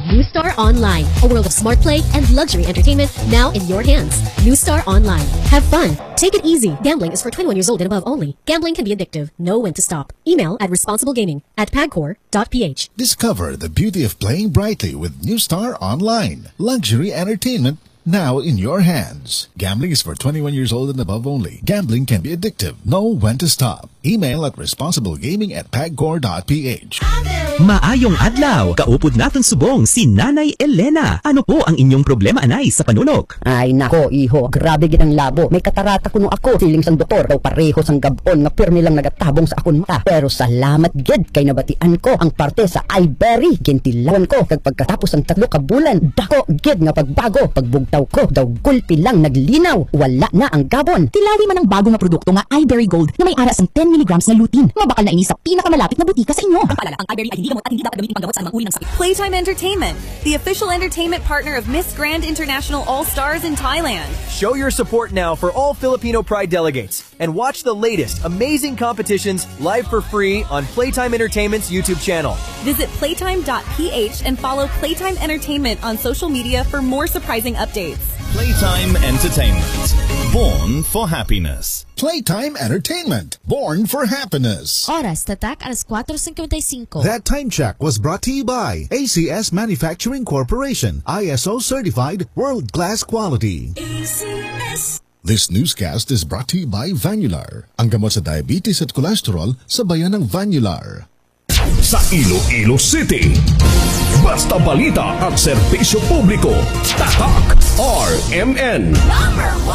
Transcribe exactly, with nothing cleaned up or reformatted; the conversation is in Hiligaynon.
New Star Online, a world of smart play and luxury entertainment now in your hands. New Star Online. Have fun. Take it easy. Gambling is for twenty-one years old and above only. Gambling can be addictive. Know when to stop. Email at responsiblegaming at pagcor dot p h. Discover the beauty of playing brightly with New Star Online. Luxury entertainment now in your hands. Gambling is for twenty-one years old and above only. Gambling can be addictive. Know when to stop. Email at responsiblegaming at pagcor dot p h. Maayong adlaw, kaupod naton subong si Nanay Elena. Ano po ang inyong problema, Anay, sa panulok? Ay nako, iho, grabe gid ang labo. May katarata kuno ako. Siling sang doktor, daw pareho sang gab-on nga pirmi lang nagatabong sa akon mata. Pero salamat gid kay nabatian ko ang parte sa Iberry. Gintilawan ko, kag pagkatapos sang tatlo ka bulan, dako gid nga pagbago. Pagbugtaw ko, daw gulpi lang naglinaw. Wala na ang gabon. Tilawi man ang bago nga produkto nga Iberry Gold nga may ara sang ten milligrams nga lutein, nga bakal na ini sa pinakamalapit nga butika sa inyo. Ang paalala, ang Iberry ay hindi gamot at hindi dapat gamitin panggamot sa anumang uri ng sakit. Playtime Entertainment, the official entertainment partner of Miss Grand International All Stars in Thailand. Show your support now for all Filipino Pride delegates and watch the latest amazing competitions live for free on Playtime Entertainment's YouTube channel. Visit playtime dot p h and follow Playtime Entertainment on social media for more surprising updates. Playtime Entertainment. Born for happiness. Playtime Entertainment. Born for happiness. Oras tatak alas kuwatro singkwenta y singko. That time check was brought to you by A C S Manufacturing Corporation, I S O certified, world-class quality. A C S. This newscast is brought to you by Vanular, ang gamot sa diabetes at cholesterol sa bayan ng Vanular. Sa Iloilo City, basta balita at serbisyo publiko, tatak R M N. Number one.